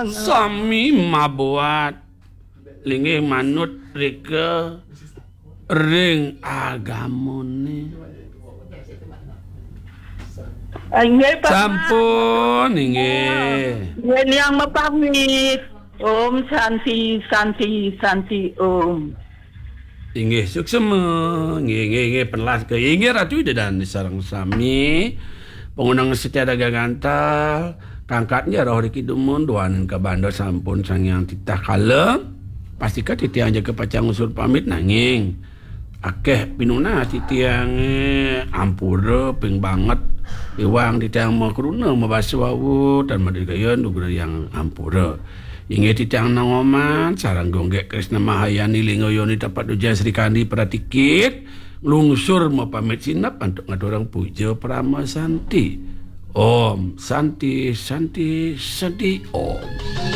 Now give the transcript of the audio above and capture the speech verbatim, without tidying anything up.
Sami mabuat linggih manut rika ring agamane. Inggih, Pak. Sampun, inggih. Inggih, Niang mapamit. Om Santi, Santi, Santi, Om. Inggih, suksma. Inggih, inggih, inggih, penelas ke. Inggih, Ratu Ida Dane sareng sami. Pangundang setia dagang gantal, kangkat nggih roh riki dumun, duaning kabanda sampun Sang Hyang titah kala. Pastika titiang jaga pacang ngusur pamit nanging akeh pinunas titiange ampura ping banget. Iwang titiang makruna mabasa wau tan madikaya nugrayang ampura. Inggih titiang Nang Oman sareng Gunggek Krisna Mahayani Lingga Yoni Tapat Dujan Sri Kandi Pratikit nglungsur mapamit sinep antuk ngaturang puja parama santi. Om Santi, Santi, Santi, Om.